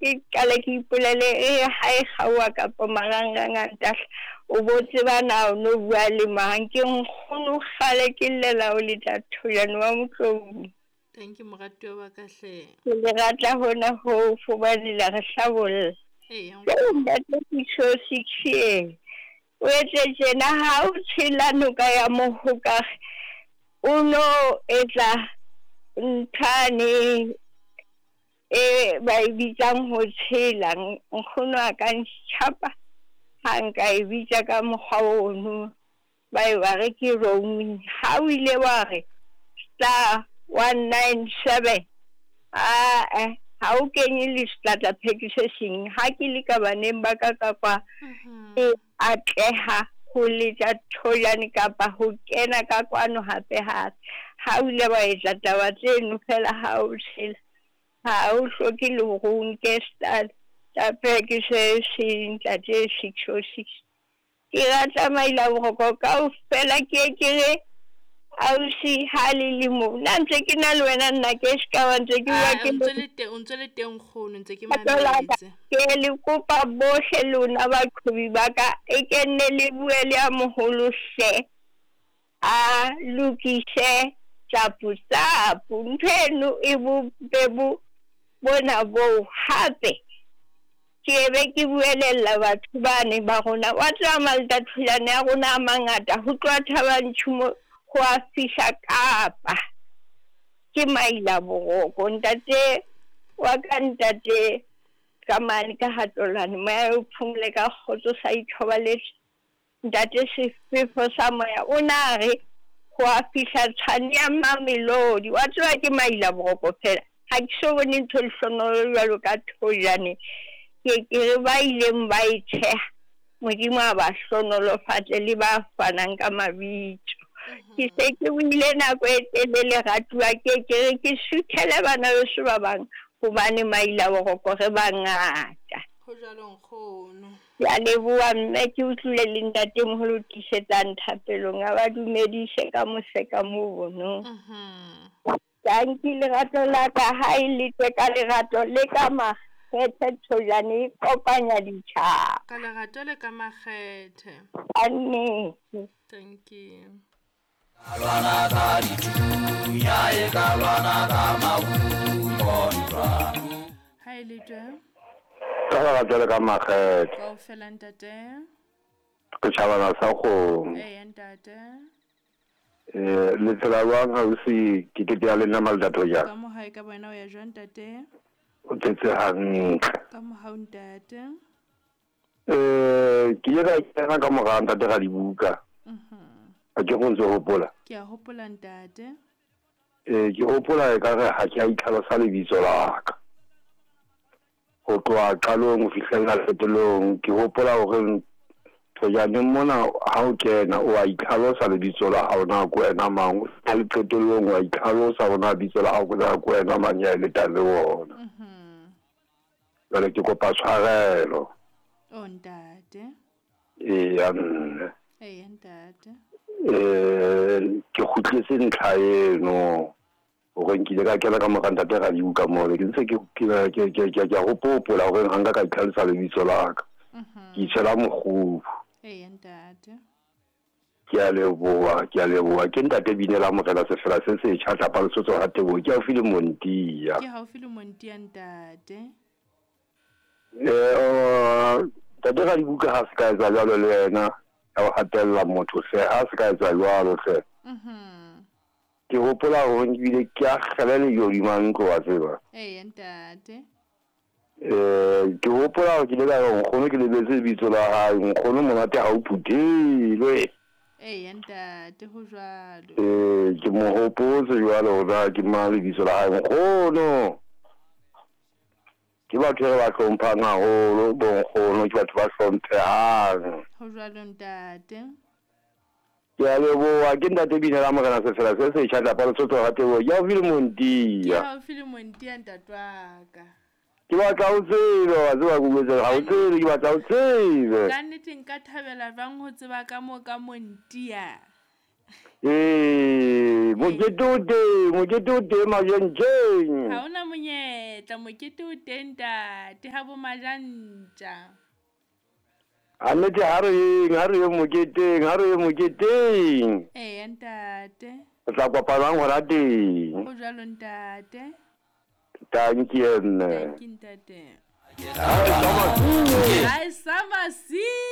ke qale ke ipolele e ha e kgaoha kapa marangrang a ntahla o bo tseba na o no bua le mang. Ke nkgono kgale ke llela o letla Thojane wa Motloung. Thank you moratuwa wa ka hle. Ke le rata hona hoo hobane la re hlabolla. Eya Jwale nkgono. ntate 606 e o etse tjena ha o tshela noka ya Mohokare o no etsa nthwane e ba e bitsang ho tshela. Nkgono a ka ntjhapa ha nka e bitsa ka mokgwa ono ba e ba re ke roaming. Ha o ile wa re star 197 ae ha o kenye le sehlahlapheki se seng. Ha ke le ka baneng ba ka ka kwa e atleha ho letsa Thojane kapa ho kena ka kwano hape hape. Ha o ile wa etsa taba tseno fela ha o tshela ha o hloke le hore o nke sehlahlapheki se seng ntate 606. Ke rata maila boroko kaofela ke ye ke re ausi ha le le mo. Nna ntse ke na le wena nna ke se ka ba ntse ke bua Ah, ke o ntse le teng, o ntse le teng nkgono, ntse ke Lerato la ka, mametse. ke le kopa bohle lona baqhobi ba ka e ke nne le bue le ya moholo hle a lokise tsapu tsapu. Ntho eno e bope bo bona boo hape ke be ke buelella batho bane ba rona. Wa tseba Malta-Thojane a rona a mangata ho tloha Thaba Nchu mo ho a fihla Kapa. Ke maila boroko ntate wa ka ntate ka mane ka Hatolane moya o phomole ka kgotso sa ithobaletse. Ntate sefefo sa moya o na re ho a fihla Tshwane ya Mamelodi. Wa tseba ke maila boroko fela. Ha ke so bone ntho e lehlonolo jwalo ka Thojane. Ke ke re ba ileng ba e theha Modimo a ba hlonolofatse le ba fanang ka mabitso. Ke se ke buile nako e telele ratuwa ke ke re ke suthele bana beso ba bang hobane maila boroko re bangata. Ho jwalo nkgono. Ke a leboha mme ke utlwile le ntatemoholo o tiisetsang thapelong a ba dumedise ka mose ka mono. Tanki lerato la ka ha e letswe ka lerato le ka makgethe Thojane e kopanya ditjhaba. Ka lerato le ka makgethe. Ka nnete. Thank you. Ka lwana ka dithunya e ka lwana ka marumo ntwa. Ha e le twe. Ka lerato le ka makgethe. Kaofela ntate. Ke tjhabana sa kgomo. Eya ntate. Le tsela jwang ausi ke ke ya le nna Malta-Thojane? Ka mo hae ka wena o ya jwang ntate? O tletse hantle. Ka mohau ntate. Ke ile ka kena ka mora ntate Radibuka. Ha ke go ntse hopola. Ke a hopola ntate. Ke hopola e ka re ha ke a itlhalosa lebitso la ka. Ho tloha qalong ho fihlella qetellong ke hopola hore Thojane mona ha o kena o a itlhalosa lebitso la hao na ke wena mang, o fihla le qetellong wa itlhalosa hore na bitso la hao ke na ke wena mang ya letang le wona. Jwale ke kopa tshwarelo. Oh ntate. Eya mme. Eya ntate. Ke kgutletse ntlha eno hore nkile ka kena ka mora ntate Radibuka mole ke ntse ke ke a hopola hore ha nka ka itlhalosa lebitso la ka. Ke itshela mokgubu. Eya ntate. Ke a leboha, ke a leboha. Ke ntate Binela Morena Sefela se setjha tlapa Lesotho ha Teboho. Ke haufi le Montia. Ke haufi le Montia ntate. Ntate Radibuka ha se ka etsa jwalo le yena ya ho hatella motho hle, ha se ka etsa jwalo hle. Ke hopola hore nkile ke akgele lehodima ntlo wa tseba. Eya ntate. Ke hopola hore ke ile ka re nkgono ke lebetse lebitso la hae, nkgono monate ha o phuthelwe. Eya ntate ho jwalo. Ke mo hopotse jwalo hore na ke mang lebitso la hae nkgono. Ke batho re ba hlomphang haholo bo nkgono, ke batho ba hlomphehang. Ho jwalo ntate. Ke a leboha, ke ntate Binela Morena Sefela se setjha tlapa Lesotho ha Teboho. Ke haufi le Montia. Ke haufi le Montia ntate wa ka. Ke batla o tsebe, wa tseba ke bua ha o tsebe, ke batla o tsebe. Ka nnete nka thabela jwang ho tseba ka mo ka Montia. Ee, mokete o teng, mokete o teng Majentjeng. Ha hona monyetla, mokete o teng ntate ha bo Majantja. Annete ha re yeng, ha re yeng moketeng, ha re yeng moketeng. Eya ntate. Re tla kopanang hona teng. Ho jwalo ntate. Dankie mme. Dankie ntate. Hai, sama Hai sama si.